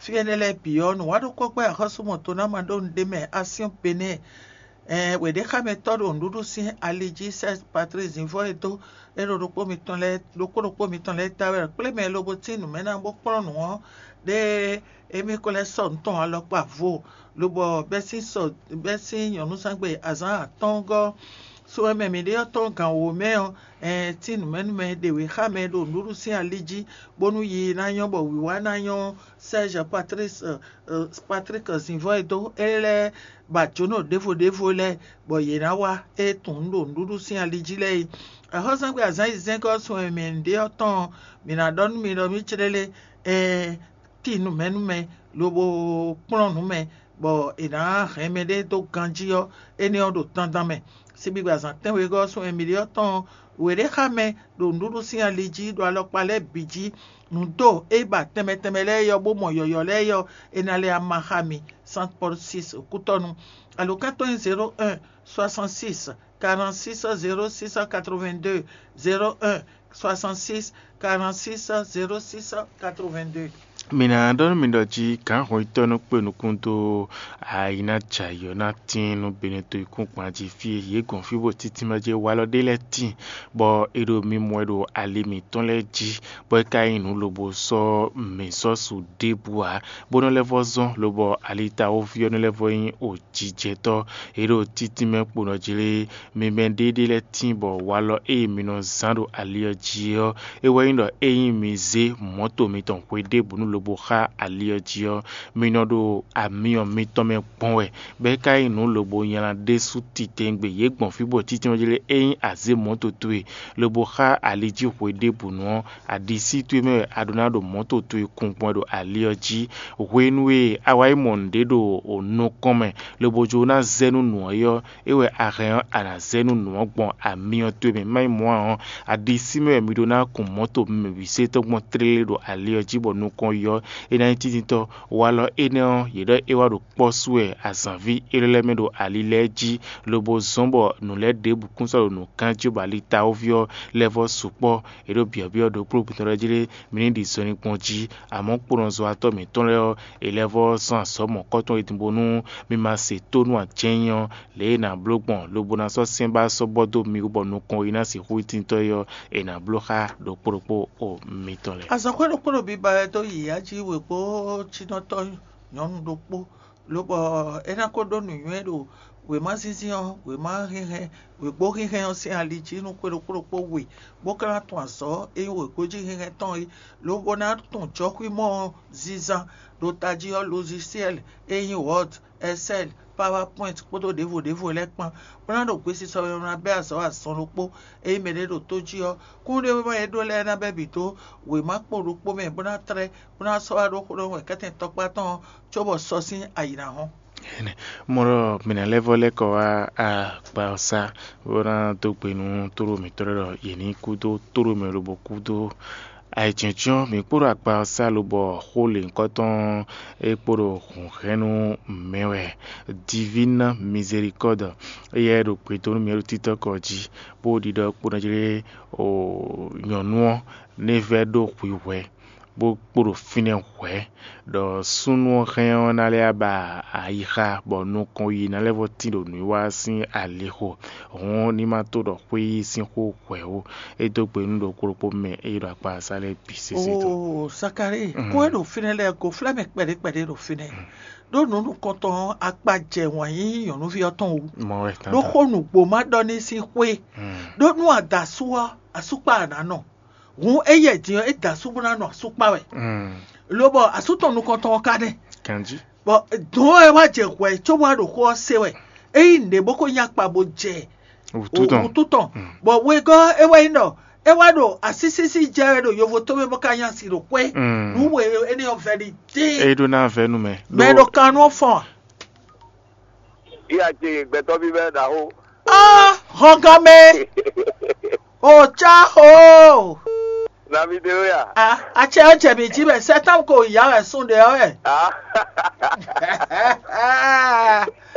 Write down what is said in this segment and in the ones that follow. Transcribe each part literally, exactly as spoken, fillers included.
Fí énɛ́ lɛ́ɛ bǐ ɔ́, nǔwanɖókpɔ́gbɛ́ axɔ́súmɔtɔ́ ná ma ɖó nǔɖé mɛ Asyɔ́n Benɛ́ɛ. Ɛɛn wěɖéxámɛtɔ́ ɖo nǔɖuɖu sín ali jí sɛ́ Patrísi Zǐnvɔ́ e dó é ɖo ɖokpó mitɔn lɛ́ɛ ɖokpó ɖokpó mitɔn lɛ́ɛ ta wɛ kplé mɛ lobo tín nǔ mɛ ná bó kplɔ́n nǔ ɔ́, ɖé émí ko lɛ́ sɔ́ nǔ tɔn alɔkpa vo, lobɔ bɛ́ sín sɔ bɛ́ sín nyɔ̌nuzángbe azǎn atɔ́ɔ́ngɔ́. So e mɛ mǐ ɖe ɔ́ tɔn gǎn wǒ mɛ ɔ́, ɛɛn tín nǔmɛnúmɛ ɖě wě xá mɛ ɖo nǔɖuɖu sín ali jí, bónú yi ná nyɔ́ bɔ wǐwá ná nyɔ́ Sɛ́ɛzɛ Patlísi Patlíki Zǐnvɔ́ e dó é lɛ́ɛ ba jǒnɔ ɖěvo ɖěvo lɛ́ɛ, bɔ yě ná wá é tunwun ɖo nǔɖuɖu sín ali jí lɛ́ɛ é. Axɔ́súzangbe azǎn yi zɛ́ngɔ́ sun e mǐ ɖe ɔ́ tɔn ɔ́, mǐ ná ɖɔ nú mi ɖɔ mǐ clélé, ɛɛn tín nǔmɛnúmɛ lobo kplɔ́n nǔ mɛ, bɔ è nǎ hɛn mɛɖé dó ganjí ɔ́, énɛ́ ɔ́ ɖo dandan mɛ. Sigbigbe azǎn tɛ́nwegɔ́ ɔ́ sun e mǐ ɖe ɔ́ tɔn ɔ́, wě ɖé xá mɛ ɖo nǔɖuɖu sín ali jí ɖo alɔkpa lɛ́ɛ bǐ jí. Nǔ do é ba tɛnmɛ tɛnmɛ lɛ́ɛ yɔ bó mɔ yɔ̌yɔ́ lɛ́ɛ yɔ, è nǎ lɛ ama xá mi. Saint Paul six kútɔ́nu. Alǒkan tɔn nyí zéro un soixante six quarante six zéro six quatre vingt deux, zéro un soixante six quarante six zéro six quatre vingt deux. Mi ná ɖɔ nú mi ɖɔ jí gǎn hɔnyitɔ́ nɔ kpe nukún dó ayi ná jɛ ayǐ ɔ́ ná tíin nú Benɛto yíkúngban jí fí e yě gɔn fí bó títí mɛ jí walɔ ɖé lɛ́ɛ tíin, bɔ è ɖo mi mɔ ɛ ɖo ali mǐtɔn lɛ́ɛ jí, bɔ é ka nyí nǔ lobo sɔ́ mǐ sɔ́ su ɖěbǔ ǎ, bó nɔ lɛ́ vɔ́ zɔ́n, lobɔ alitawóví ɔ́ nɔ lɛ́ vɔ́ nyí òjijɛtɔ́. È ɖo títí mɛ kpo nɔ jlé mi mɛ ɖéɖé lɛ́ɛ tíin bɔ walɔ e mi nɔ zán ɖo ali ɔ́ jí ɔ́, é wɛ nyí ɖɔ ényí mi zé mɔ̌to mitɔn hwe ɖěbǔ nú lobo xá ali ɔ́ jí ɔ́, mi nɔ ɖo amyɔ mitɔn mɛ gbɔn wɛ, bɔ é ka nyí nǔ lobo nylá ɖésú titewungbe yě gbɔn fí bɔ títí ɔ́ jlé ényí a zě mɔ̌to towe lobo xá ali jí hwe ɖěbǔnu ɔ́, aɖisí towe mɛ wɛ a ɖó ná ɖo mɔ̌to towe kun gbɔn ɖo ali ɔ́ jí. Hwenu e a wá yi mɔ nǔɖé ɖo nukɔn mɛ, lobo jló ná zɛ nú nǔ ɔ́ é ɔ́, é wɛ a hɛn ɔ́, a nǎ zɛ nú nǔ ɔ́ gbɔn amyɔ towe mɛ. Má nyí mɔ̌ ǎ ɔ́, aɖisí mɛ wɛ mi ɖó ná kun mɔ̌to mɛ bǐ se tɔn gbɔn tlélé ɖo ali ɔ́ jí bɔ nukɔn yi ɔ́, é ná nyí tíntítɔ́. Walɔ énɛ́ ɔ́, yě ɖɔ é wá ɖo kpɔ́ sú wɛ azǎnví élɔ́ lɛ́ɛ mɛ ɖo ali lɛ́ɛ jí, lobo zɔ́n bɔ nǔ lɛ́ɛ ɖěbǔ kún sɔ́ ɖo nǔ gán jí bɔ ali tawóví ɔ́ lɛ́ vɔ́ sukpɔ́. È ɖo byɔ̌byɔ́ ɖokpó gbɛtɔ́ lɛ́ɛ jí lé, mi ní ɖi zɔnlin gbɔn jí, amɔ̌ kponɔzɔ́watɔ́ mǐtɔn lɛ́ɛ ɔ́, è lɛ́ vɔ́ zɔ́n azɔ̌ mɔ̌kɔ́tɔn e din bónú mi ma se tónú ǎ jɛ́n nyí ɔ́, lě e è nǎ bló gbɔn lobo ná sɔ́ sɛ́n ba sɔ́ bɔ dó mi wú bɔ nukɔn e ná sixú nyí tíntɔ́ é ɔ́, è nǎ bló xá ɖokpó ɖokpó o mitɔn lɛ́ɛ. Azɔ̌xwé ɖokpó ɖo biba wɛ dó yǐyá jí wěgbójínɔtɔ́ nyɔ̌nu ɖokpó, lobɔ é ná ko ɖó nǔnywɛ́ ɖo wěma zínzín ɔ́, wěma hɛnhɛn, wěgbó hɛnhɛn ɔ́ sín ali jí nú xwé ɖokpó ɖokpó we, bó ka ná tunwun azɔ̌ e nyí wěgbójí hɛnhɛn tɔn é, lobo ná tunwun jɔxwímɔ ɔ́ zínzán ɖo tají ɔ́, lozisɛ́li e nyí Word, Excel, PowerPoint kpódó ɖěvo ɖěvo lɛ́ɛ kpán, bó ná ɖo gbesisɔ mɛ bó ná bɛ́ azɔ̌ azɔn ɖokpó. Ényí mɛɖé ɖo tó jí ɔ́, kúnɖéwéma e é ɖó lɛ́ɛ ná bɛ́ bǐ dó wěma kpo ɖokpó mɛ bó ná tlɛ́, bó ná sɔ́ wá ɖó xó ɖɔhun wɛ kɛ́tɛn tɔkpá tɔn ɔ́, cóbɔ sɔ́ sín ayǐ ná hɔn. Mɔɖɔ mǐ ná lɛ́ vɔ́ lɛ́ kɔ wá akpa ɔ́ sá, bó ná dó gbe nú tóɖó mǐtɔn lɛ́ɛ ɖɔ yě ní kú dó tóɖó mɛ lobo kú dó ayǐjínjɔ́n. Mǐ kpódó akpa ɔ́ sá lobɔ xó lěhunkɔtɔn e kpo ɖo hǔnhɛ́nnu mɛ wɛ, Divine Miséricorde, éyɛ́ ɖo gbe dó nú mǐ ɖo títɔ́kɔ jí, bó ɖiɖɔ kpo ná jlé nyɔ̌nu ɔ́ ní vɛ́ ɖó hwihwɛ̌, bó kpo ɖo fínɛ́ hwɛ̌, ɖɔ súnnu ɔ́ hɛn ɔ́ ná lɛ́ ba ayixa, bɔ nukɔn yi ná lɛ́ vɔ́ tín ɖo nǔwiwa sín alixo. Hǔn ní ma tó ɖɔ xwé yí sín xó hwɛ̌ ó. É dó gbe nú ɖokpó ɖokpó mɛ e ɖo akpa asá lɛ́ɛ bǐ sésé tɔn. Oo, Zakalíi, kó e ɖo fínɛ́ lɛ́ɛ goflɛ́ mɛ kpɛɖé kpɛɖé ɖo fínɛ́. Ɖó nǔ nukɔntɔn ɔ́, akpa jɛ wǎn yíyí nyɔ̌nuví ɔ́ tɔn wú. Mɔ wɛ ɖó tanta. Xó nǔgbó ma ɖɔ ní sín xwé. Ɖó nú a da asú ɔ́, asúkpa a nǎ nɔ. Hǔn éyɛ́ din ɔ́, é da asú bó ná nɔ asú kpa wɛ. Lobɔ asú tɔn nukɔntɔn ɔ́ ka nɛ́. Ganjí. Bɔ dɔ̌n wɛ wá jɛ hwɛ̌ cóbɔ wá ɖo xó ɔ́ se wɛ. É nyí nǔɖé bó ko nyí akpa bó jɛ Wǔtu tɔn. Wǔtu tɔn. Bɔ wegɔ́ é wɛ nyí ɖɔ é wá ɖo asísísí jɛ wɛ ɖo yovo tómɛ bó ka nyí asi ɖo xwé. Nǔ we énɛ́ ɔ́ vɛ́ ɖi dín. É ɖó ná vɛ́ nú mɛ. Mɛ ɖo kan nú ɔ́ fɔn a? Iya ce gbɛtɔ́ví bɛ ɖaxó. Ah, hɔngɔn mɛ. O ca o. Nami de o ya. Ah, atsɛ ɔ́ jɛ mǐ jí mɛ sɛ́tán ko yá wɛ sún ɖe ɔ́ wɛ. Ah. Ah,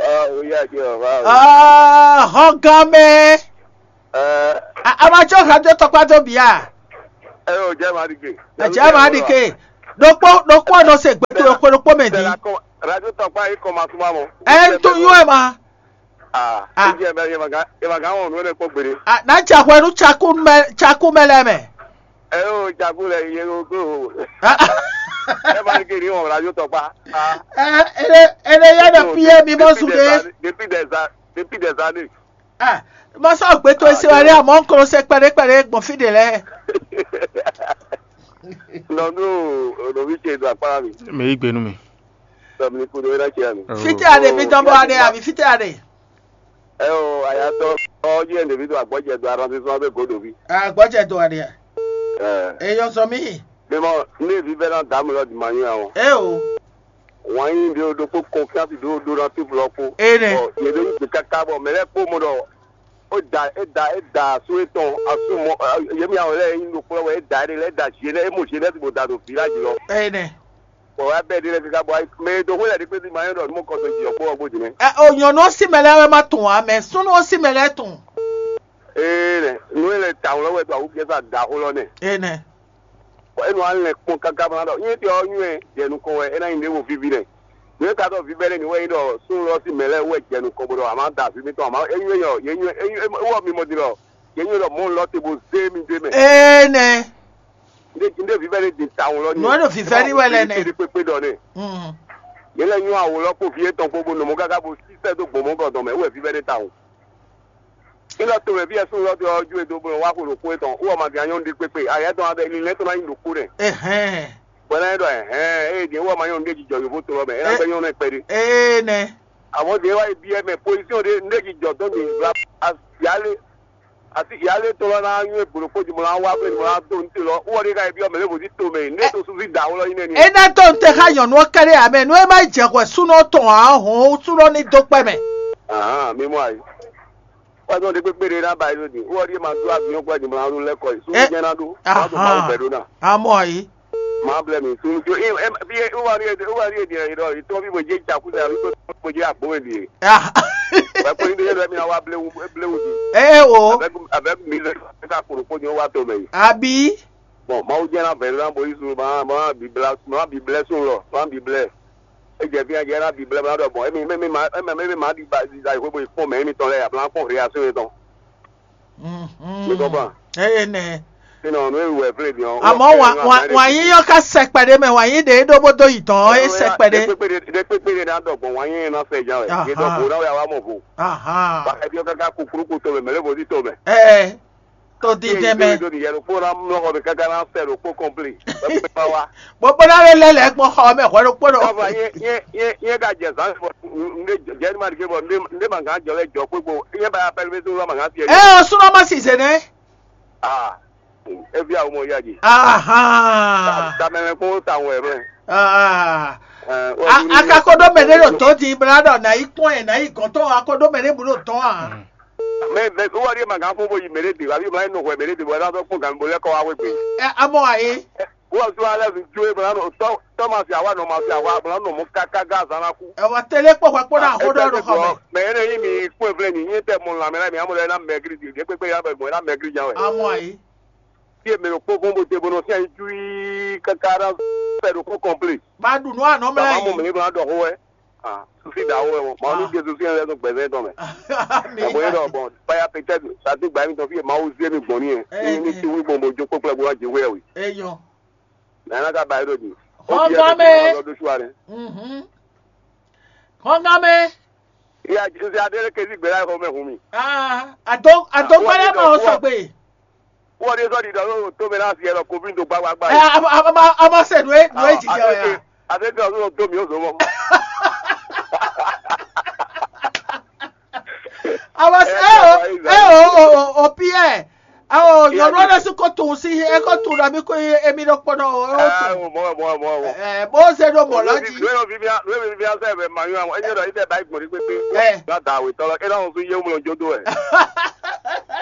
o ya ce o va o. Ah, hɔngɔn mɛ. Eh. A ma tsɔ ha dó tɔkpá dó bia. Eh, o jɛ ma ɖi ke. Atsɛ ma ɖi ke. Ɖokpó ɖokpó ɔ́ nɔ se gbɛtɔ́ ɖokpó ɖokpó mɛ din. Radio tɔkpa yi kɔn ma súnmọ́ mɔ. Ɛ ń tún yún ɛ ma. Ah, Ah. Ìjẹ́ bẹ́ẹ̀ yẹn màgá yẹn màgá wọn nù ẹ̀ kó gbére. Ah, ná jɛ hwɛ nú cakú mɛ cakú mɛ lɛ mɛ. Ẹ yóò jagun lẹ yẹ yóò gbé o. Ah, Ẹ máa ń kiri wọn radio tọkpa. Ah, ɛ ene ene yɛ ɖe piyɛ mi mɔ zu ɖe. Depuis des années. Depuis des années. Ah, mɔ sɔ gbɛtɔ́ esi wa ɖe amɔ ń klo se kpɛɖe kpɛɖe gbɔn fi ɖe lɛ. Nɔnú ònòmí ṣe ètò àpárá mi. Mɛ yí gbénu mi. Sọmi ní kúndó iná ṣe àmì. Oh. Fite aɖe mi dɔn bɔ aɖe abi fite aɖe. Ẹ o àyàtọ̀ ọjọ́ ẹ̀ ndèmí tó àgbọ̀jẹ̀ do aranti sún abẹ́ gòdò bí. Agbɔjɛ do aɖe. Ẹ Eyɔ sɔ mi. Mímọ ní èbí bẹ́ẹ̀ náà dààmú lọ dì máa yún àwọn. E o. Wọ́n yín bí o ɖokpó confiance ɖó ɖó ná fíflɔ kpó. Ene. Yě ɖo yí kaka bɔ mɛ lɛ́ɛ kpó mɔ ɖɔ ó da é da é da asú étɔn asú mɔ yémi àwọn lɛ́ɛ yín ɖokpó lɔ wɛ é da é ɖe lɛ é da zi é lɛ é mɔ zi é lɛ ti bò da ɖo village lɔ. Ene. Bɔ wá bɛɛ ɖi lɛ kaka bɔ mɛ e do hwé lɛ ɖi kpé ti ma nyɔ́ ɖɔ nú mɔ kɔtɔn jì ɔkpó ɔkpó jì nɛ. Ɛ o nyɔnu ɔ́ sí mɛ lɛ́ɛ wɛ má tún ǎ mɛ súnú ɔ́ sí mɛ lɛ́ɛ tún. Ee nú é lɛ ta wlɔ wɛ do awu fiɛ sa da xó lɔ nɛ. Ene. Bɔ é nɔ alɛ kpɔn kaka bɔ ná ɖɔ nyɛ tɛ ɔ́ nyɔɛ jɛ nukɔn wɛ é ná nyi ɖěvo vivi nɛ. Nú é ka ɖɔ vivɛ lɛ ni wɛ é ɖɔ súnnu lɔ sí mɛ lɛ́ɛ wɛ jɛ nukɔn bó ɖɔ àmá da avi mitɔn àmá é nyɔɛ yɔ yé nyɔɛ é nyɔɛ é wɔ mi mɔ din lɔ yé nyɔɛ ɖɔ mɔ lɔ te bó zé mi dé mɛ. Ene. Ndé ndé vivɛ lɛ din tawun lɔ ni. Nú é ɖo vivɛ ní wɛ lɛ nɛ. Kpékpé ɖɔ nɛ. Mm. Yě lɛ nyɔ́ awo lɔ kpó vǐ étɔn kpó bó nɔ mɔ káká bó sísɛ dó gbɔn mɔ̌ gɔdɔn mɛ wú wɛ vívɛ́ ɖé tawun. Nígbà tó mɛ fí ɛsùn lɔ dó ɔ́ ju e dó bó nɔ wá xo ɖo xó étɔn wú ɔmɔ din anyɔ́nu ɖé kpékpé ayɛ tɔn abɛ linlɛ́ tɔn ná nyi ɖo kó nɛ. Ehɛn. Bɔ ná nyi ɖɔ ɛhɛn ée din wú ɔmɔ anyɔ́nu ɖé jijɔ yǒfó to lɔ mɛ é ná gbɛ́ nyɔ́nu ɛ kpɛɖé. Ee nɛ. Àmọ́ din wá yi byɔ́ mɛ pozíṣɔn ɖé ndé jijɔ tɔn din bla asi yálé asi yálé tɔn lɔ ná nywɛ́ gbǒɖokpó din bó ná wá blé din bó ná dó ní te lɔ wú ɔ́ ɖé ká yi byɔ́ mɛ lé bó sí to mɛ ní tó súnfí da wlɔ nyí nɛni. E ná tó n te xá nyɔnu ɔ́ kɛɖé amɛ nú é má jɛ hwɛ súnɔ tɔn ǎ hɔn súnɔ ní dó kpɛ mɛ. Ahán mi mɔ ayi. Wájú ɔ́ ɖé kpékpé ɖé ná ba yí lóde wú ɔ́ ɖíe ma dó avinyɔ́ kpó adi mla ló lɛ́ kɔ yi súnú jẹ́ ná ɖó má tó máa wù bɛ́ ɖó ná. Amɔ ayi. Má blɛ́ mi súnú jó í wá ní èdè wá ní èdè ẹ̀yìn lɔ ìtọ́ bí mo jẹ́ ìjàkúzà àbí pé mo jẹ́ àgbóhùn èdè. Wẹ́ pé níbi yẹn lọ mi wá bléwu bléwu di. Ɛ o. Avec avec mi lè ká kúrò kó ní ó wá tó mẹ́ yìí. Àbí. Bon, Mawu jẹ́ ná bẹ̀rẹ̀ ná bóyí sùn máa máa bí blá máa bí blẹ́ sùn lọ máa bí blẹ́. É jẹ́ fí ajẹ́ ná bí blẹ́ máa dọ̀ bọ̀ émi émi máa émi émi máa di ba di da ìwé bóyí pọ̀ mẹ́ émi tán lẹ́yìn àbúrò kún réaction yẹn tán. Mi kọ́ fún wa. Eye nɛ. Sínú ọ̀nà ìwé ìwé fúlẹ̀ dìán. Àmọ́ wà yín yọ ká sẹpẹ̀dé mẹ́ wà yín dé dóbódó yìí tán é sẹpẹ̀dé. Dé pépé dé ná dọ̀gbọ̀n wà yín ná fẹ́ jà wẹ̀. Yé dọ̀gbọ̀n náà wẹ̀ àwa mọ̀ fún. Ahán. Bá ẹbí ọ̀gá ká kúkúrú kó tó mẹ́ mẹ́lẹ́ bó ti tó mẹ́. Ɛ tó dídɛn mɛ. Tó nìyẹn ló kó ná mú ọkọ̀ mi káká ná fẹ́ ló kó kọ́mplé. Lọ́pọ̀ bá wa. Gbogbo náà ló lẹ́lẹ̀ gbọ́n xɔ mẹ́ hwɛ ló kpó lọ. Káfa yé yé yé yé ka jẹ zan fọ ndé jẹ ní ma dike fọ ndé ndé ma gán jọ lẹ jọ kpékpo yé ba ya pẹlú bẹ́sẹ̀ wúlò ma gán tiẹ̀. Ɛ o súnmọ́ ma sì zè nɛ. Ah, ebi àwọn ọmọ yá jì. Ahán. Tamẹ̀rẹ̀ kó táwọn ẹ̀rọ ẹ̀. Ah. A- akakoɖo mɛ ɖe ɖo tɔ di bla ɖɔ na yi kpɔn yɛ na yi gɔntɔ akakoɖo mɛ ɖe bu ɖo tɔn a. Mɛ bɛ wọ́n rí màgá fún bóyí mèrè dè wàbí màá nù hùwẹ̀ mèrè dè wọ́n lásán fún gàmí bolẹ́ kọ́ wá wé gbé. Ɛ amɔ ayi. Wọ́n sún alẹ́ fi jó ebe lánà tọ́ tọ́ ma fi àwa nọ ma fi àwa lánà mú káká gá azán ná kú. Ɛwɔ tele kpɔ hwɛ kpɔ na ho ɖɔ ɖo xɔ mɛ. Mɛ yẹn ní mi kún ẹ̀fẹ́ ni yín tẹ́ mọ làmì láì mi amọ̀ lẹ́yìn náà mẹ́gírí di ìdí pépé yà bẹ̀ mọ̀ ẹ̀ náà mẹ́gírí jan wẹ̀. Amɔ ayi. Tí èmi ló kpó fún bó te bó nọ sí àyín ju yí káká rá fẹ́ ló kó kọ́mplé. Ba ɖu nu anɔ mlɛ Bàbá mọ̀ yi. mí ló ń dọ̀kọ́ wẹ́. Sufi da wo wɛ mɔ maa nu Jesu fi ɛn lɛ nu gbɛzɛ tɔn mɛ. Mi Ɛbɔ yɛ ma dɔ bɔn baya pɛtɛ sati gba mi tɔn fi ma wo zie mi gbɔn ni yɛ. Eh, Ni eh. ti wi gbɔn bo jo kpɔkplɔ bo wa je wɛ wi. Eyɔ. Na na ka ba yi do di. Xɔngamɛ. Lɔ do suwa ne. Mhm. Xɔngamɛ. Iya Jesu ade le kezi gbɛ la xɔ mɛ hun mi. Ah, ado ado gbɛlɛ ma o sɔgbe. Wɔ de sɔ di dɔ yóò tó mi la fi yɛ lɔ kobi do gbagbagba. Ɛ a a a a ma se nu e nu e jijɛ o ya. Ade dɔ yóò tó mi o zɔmɔ. A ma se e o e o o o o Pierre. Awo nyɔnu ɖe si ko tun si e ko tun ɖe mi ko emi ɖo kpɔnɔ o o Ah, tun. o mɔ mɔ mɔ mɔ. Ɛ bó se ɖo mɔ lɔ dzi. Lóyún fífíà lóyún fífíà sẹ́ẹ̀fẹ̀ màyún àwọn ẹ̀yìn ọ̀dọ̀ ìdẹ̀ báyìí gbọ̀n ní pépé. Ẹ. Gbàdá àwẹ̀ tọ́lọ́ kí láwọn tún yé wọn jọ dó ẹ̀.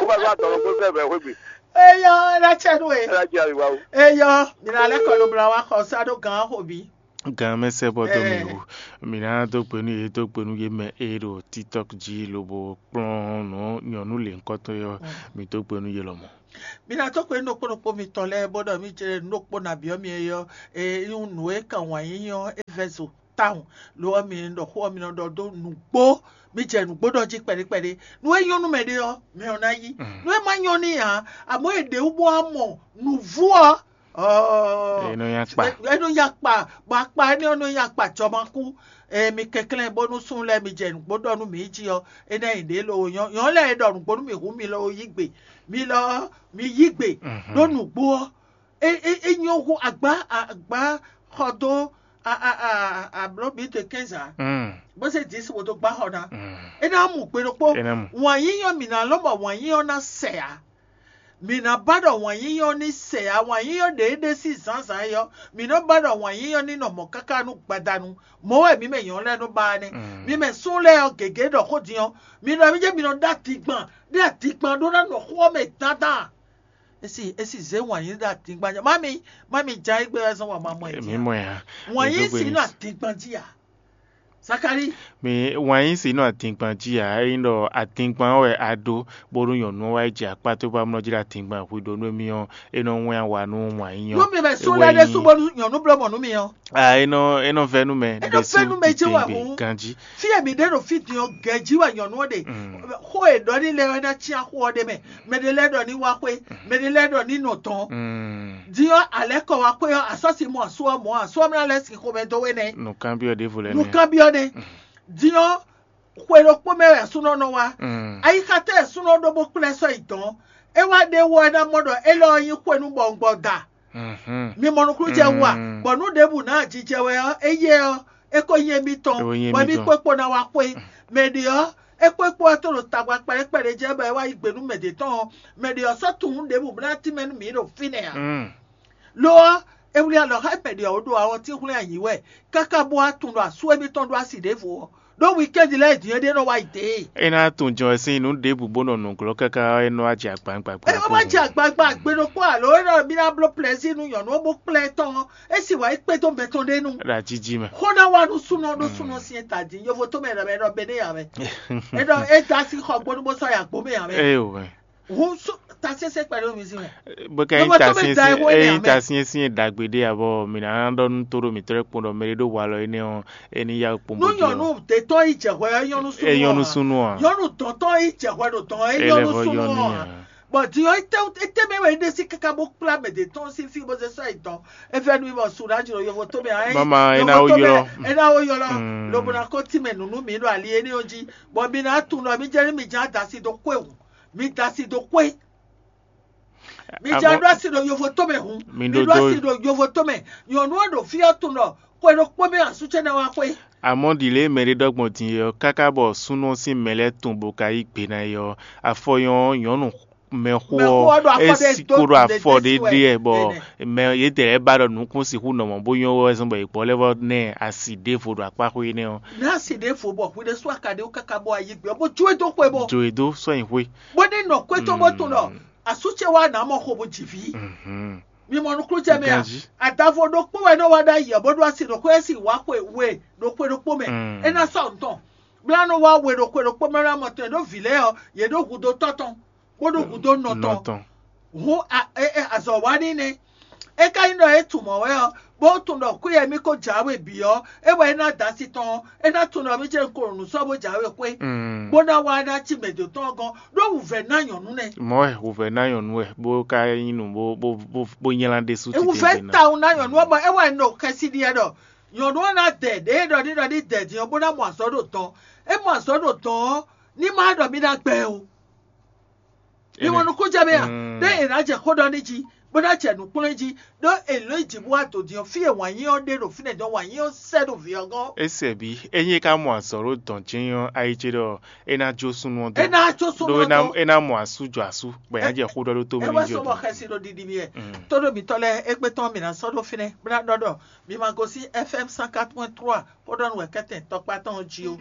Kó bá tó àtọ̀rọ̀ kó sẹ́ẹ̀fẹ̀ wé gbé. Eyɔ la tsɛ nu e. Ẹ jẹ́ àríwá o. Eyɔ mina lɛ kɔ lobla wa xɔ sa ɖo gan xobi. Gan mɛ sɛ bɔ dó mi wú. Mi ná dó gbe nú yě, dó gbe nú yě mɛ e ɖo TikTok jí lobo kplɔ́n nǔ nyɔ̌nu lěhunkɔtɔn yɔ. Mi dó gbe nú yě lɔmɔ̌. Mi ná dó gbe nú ɖokpó ɖokpó mitɔn lɛ́ɛ bó ɖɔ mì jɛ nǔ ɖokpó ná byɔ́ mi é ɔ́, e nyí nǔ e kan wǎn yíyí ɔ́ é vɛ́ zo tawun. Lo ɔ́, mi ɖɔ xó ɔ́, mi nɔ ɖɔ dó nǔgbó, mi jɛ nǔgbó ɖɔ jí kpɛɖé kpɛɖé. Nǔ e nyɔ́ nú mɛ ɖé ɔ́, mɛ ɔ́ ná yí. Nǔ e ma nyɔ́ n'i ǎ, amɔ̌ è ɖě wú bó wá mɔ nǔvú ɔ́, Ɔɔ, É nɔ nyi akpa. É nɔ nyi akpa, bɔ akpa énɛ́ ɔ́ nɔ nyi akpa jɔmakú. Ee, mi kɛnklɛ́n bónú súnnu lɛ́ɛ mi jɛ nǔgbó ɖɔ nú mǐ jí ɔ́, é ná nyí ɖě lo nyɔ̌ nyɔ̌ lɛ́ɛ e ɖɔ nǔgbó nú mǐ hú mi lɔ yí gbe, mi lɔ mi yí gbe ɖó nǔgbó ɔ́, é é é nyɔ́ hú agbá agbá xɔ dó a a a a bló bǐ de kɛ́nzǎ, bó zé dǐ si wǒ dó gbá xɔ ná. É ná mú gbe ɖokpó. É ná mú. Wǎn yíyí ɔ́, mǐ ná lɔn bɔ wǎn yíyí ɔ́ ná sɛ ǎ. Mǐ ná ba ɖɔ wǎn yíyí ɔ́ ní sɛ ǎ, wǎn yíyí ɔ́ ɖě é ɖe sín zǎnzǎn é ɔ́, mǐ nɔ́ ba ɖɔ wǎn yíyí ɔ́ ní nɔ mɔ̌ káká nú gbadanu. Mɔ̌ wɛ mǐ mɛ nyɔ̌nu lɛ́ɛ nɔ ba ɔ́ nɛ́. Mi mɛ súnnu lɛ́ɛ ɔ́, gěgé ɖɔ xó din ɔ́, mi ɖɔ mì jɛ́n mi nɔ ɖó adingban, ɖó adingban ɖó ná nɔ xó ɔ́ mɛ dandan. É sì é sì zé wǎn yíyí ɖó adingban jí. Má mi má mi ján égbé wɛ zɔ́n wǎn ma mɔ ɛ jí Mǐ ǎ. Mɔ ɛ ǎ. Wǎn yíyí sì nɔ adingban jí ǎ. Zakalíi. Mi wǎn yí si nɔ adingban jí ǎ, ényí ɖɔ adingban ɔ́ wɛ a ɖó, bónú nyɔ̌nu ɔ́ wá yi jɛ akpá towe bó wá mlɔ́ jí ɖo adingban hwi ɖó nú émí ɔ́, é nɔ wɛ́n awa nú wǎn yí nyɔ́. Nú mi mɛ sú lɛ́ɛ ɖésú bónú nyɔ̌nu bló mɔ̌ nú mi ɔ́. A é nɔ é nɔ vɛ́ nú mɛ É nɔ ɖésú vɛ́ nú mɛ jí wɛ titewungbe hǔn. Ganjí. Fí e mǐ ɖe ɖo fí din ɔ́, gɛ̌ jí wɛ nyɔ̌nu ɔ́ ɖe. Xó e ɖɔ ní lɛ́ ɔ́ é ná cyán xó ɔ́ ɖ'é mɛ. Mɛ ɖé lɛ́ɛ ɖɔ ní wá xwé, mɛ ɖé lɛ́ɛ ɖɔ ní nɔ tɔn. Din ɔ́, alɛ̌ kɔ wá xwé ɔ́, asɔ́si mɔ asú ɔ́ mɔ̌, asú ɔ́ mlá lɛ́ sin xomɛ dó we nɛ́. Nǔkanbyɔ́ ɖěvo lɛ́ɛ nɛ́. Nǔkanbyɔ́ nɛ́. Din ɔ́, xwe ɖokpó mɛ wɛ súnɔ nɔ wá. Ayixa tɛ́ súnɔ ɖó bó kplá ɛ sɔ́ yi dɔ̌n. É wá ɖe wɔ é ná mɔ ɖɔ élɔ́ ɔ́ nyí xwe nú bɔwungbɔda. Mi mɔ nukúnnú jɛ wú a? Bɔ nú ɖěbǔ ná ajijɛ wɛ ɔ́, éyɛ́ ɔ́, é ko nyí émítɔn, bɔ émí kpókpó ná wá xwé. Mɛ ɖě ɔ́, é kpókpó ɔ́ tó ɖo tagba kpɛɖékpɛɖé jɛ bɔ é wá yí gbe nú mɛ ɖě tɔn ɔ́, mɛ ɖě ɔ́ sɔ́ tunwun ɖěbǔ bó ná tínmɛ nú mǐ ɖo fínɛ́ ǎ. Lo ɔ́, é wlí alɔ xá mɛ ɖě ɔ́ ɖo awɔntín hwlɛ́n ayǐ wɛ, káká bó wá tunwun ɖɔ asú émítɔn ɖó asi ɖěvo ɔ́, ɖó wikɛ́ndi lɛ́ɛ din é ɖé nɔ wá yi dě. É ná tunwun jɔn wɛ sín nǔ ɖěbǔ bó nɔ nǔglɔ́ káká ɔ́, é nɔ wá jɛ agban gbàgbé. É nɔ wá jɛ agban gbàgbé ɖokpó alo é nɔ mí ná bló plɛzí nú nyɔ̌nu ɔ́ bó kplá ɛ tɔn ɔ́, é sì wá yi kpédó mɛ tɔn ɖé nu. Ɖo ajiji mɛ. Xó ná wá nú súnɔ ɖó súnɔ sín ta din, yovo tó mɛ ɖɔ mɛ ɖɔ Benéya mɛ. É ɖɔ é dó así xɔ gbónú bó sɔ́ yi agbó mɛ ǎ mɛ. Éyo mɛ. Hǔn sú ta sésé kpɛɖé mi sí mɛ. Bó ká Ló ényí bɔ ta tó bɛ syɛ́nsyɛ́n da ihwo énɛ́ ényí ǎ ta mɛ. Syɛ́nsyɛ́n ɖagbe ɖé ǎ bɔ mì nǎ ɖɔ nú tóɖó mǐtɔn e kpɔ́n ɖɔ mɛɖé ɖó walɔ énɛ́ ɔ́, é ní yá kpɔ́n Nú bó din nyɔ̌nu ɔ́. Dětɔ́ yi jɛ hwɛ ɔ́, é nyɔ́ nú súnnu É nyɔ́ nú ɔ́. Súnnu ɔ́. Nyɔ́nu dɔ̌ntɔ́ yi jɛ hwɛ ɖo dɔ̌n ɔ́, é É nyɔ́ lɛ́ nú vɔ súnnu yɔ n'i ɔ́. Ǎ. Bɔ din ɔ́, étɛ́ étɛ́ mɛ wɛ é ɖe sí káká bó kplá mɛ dě tɔn sín fí bó zé sɔ́ yi dɔ̌n. É vɛ́ nú mì bɔ su ɖó ajlo yovo tó mɛ ǎ. É Mama, é ná yovo wó tó mɛ, ylɔ́. É ná wó ylɔ́. Mm. Lobo ná kó tínmɛ nǔ nú mǐ ɖo ali énɛ́ ɔ́ jí. Bɔ mi ná tunwun ɖɔ mí jɛ́n nú mi ján da asi dó xwé hǔn. Mi da asi dó xwé. Mi jɛ Amɔ ɖó asi ɖo yovo tɔn mɛ hǔn. Mi Mi ɖó ɖó dó asi ɖo yovo tɔn mɛ. Nyɔ̌nu ɔ́ ɖo fí ɔ́ tunwun ɖɔ xwe ɖokpó mɛ asú ce ná wá xwé. Amɔ̌ ɖi lě e mɛɖé ɖɔ gbɔn din é ɔ́, káká bɔ súnnu ɔ́ sín mɛ lɛ́ɛ tunwun bó ka yí gbe ná é ɔ́, afɔ nyɔ́ ɔ́, nyɔ̌nu mɛxó Mɛxó ɔ́ ɔ́ ɖo afɔ é ɖé sí dó kó ɖo ɖe afɔ dé ɖé sí wɛ. Ɖe ɛ bɔ Ɛnɛ. Mɛ yětɛn lɛ́ɛ ba ɖɔ nǔkún sixú nɔ mɔ̌ bó nyɔ́ wɛ zɔ́n bɔ è gbɔ lɛ́ vɔ nɛ asi ɖěvo ɖo akpá xwé énɛ́ ɔ́. Ná si ɖěvo bɔ hwi ɖésú akaɖéwú káká bɔ ayigbe ɔ́ bó jó e dó xwé bó. Jó e dó sɔ́ nyi xwé. Bó ní nɔ kwétɔ́ bó tunwun ɖɔ asú ce wá nǎ mɔ xo bó ji vǐ. Mi mɔ nukúnnú jɛ mɛ a? Ganjí. Adavo ɖokpó wɛ nɔ wá ɖ'ayǐ ɔ́ bó ɖó asi ɖo xwé si wá xwe we ɖo xwe ɖokpó mɛ. Mm. É ná sɔ́ nǔtɔn. Bla nɔ wá we ɖo xwe ɖokpó mɛ ná mɔ tɔn e ɖó vǐ lɛ́ɛ ɔ́, yě ɖó hudó tɔ́ tɔn, bó ɖó hudó nɔ tɔn. Nɔ tɔn. Hǔn a- e- e- azɔ̌ wa n'i nɛ́. É ka nyí ɖɔ é tunwun mɔ̌ wɛ ɔ́, bó tunwun ɖɔ kwíyɛ mì ko jǎwe bǐ ɔ́, é wɛ é ná da asi tɔn ɔ́, é ná tunwun ɖɔ mì ce un ko nǔ sɔ́ bó jǎwe xwé, Mm. bó ná wá ná cí mɛ dǒ tɔn ɔ́ gɔ́n, ɖó wǔvɛ́ ná nyɔ̌nu nɛ́. Mɔ̌ wɛ wǔvɛ́ ná nyɔ̌nu wɛ, bó ka nyí nǔ bó bó bó bó nylá ɖésú Ewúvɛ́ titewungbe ná. Tawun ná nyɔ̌nu ɔ́ bɔ é wɛ un ɖo xɛsi ɖi wɛ ɖɔ nyɔ̌nu ɔ́ ná dɛ ɖěe ɖɔ ní ɖɔ ní dɛ din ɔ́ bó ná mɔ azɔ̌ ɖo dɔn. É mɔ azɔ̌ ɖo dɔn ɔ́, ní má ɖɔ mì ná gbɛ o. Mi Énɛ́. Mɔ nukúnnú jɛ mɛ a? Mm. Ɖé è nǎ jɛ xó ɖɔ ní jí, bó ná jɛ nǔkplɔ́n jí, ɖó è lǒ yi jǐ bó wá dǒ din ɔ́, fí e wǎn yí ɔ́ ɖe ɖo fínɛ́ dɔn wǎn yí ɔ́ sɛ́ ɖo vǐ ɔ́ gɔ́n. Ésɛ bǐ, ényí é ka mɔ azɔ̌ ɖo dɔn jɛ́n ɔ́, ayi ce ɖɔ é ná jó súnnu ɔ́ dɔn. É ná jó súnnu Ɖó ɔ́ é ná dɔn. É ná mɔ asú jɔ asú, bɔ è nǎ jɛ xó ɖɔ ɖó tó mɛ É ní wá jɔ sɔ bɔ dɔn. Xɛsi ɖo ɖiɖi mì wɛ. Mm. Tó ɖo mǐtɔn lɛ́ɛ égbé tɔn mǐ ná sɔ́ ɖó fínɛ́, bó ná ɖɔ ɖɔ mi ma gosín F M cent quatre point trois xó ɖɔ nú wɛ kɛ́tɛn tɔkpá tɔn jí ó.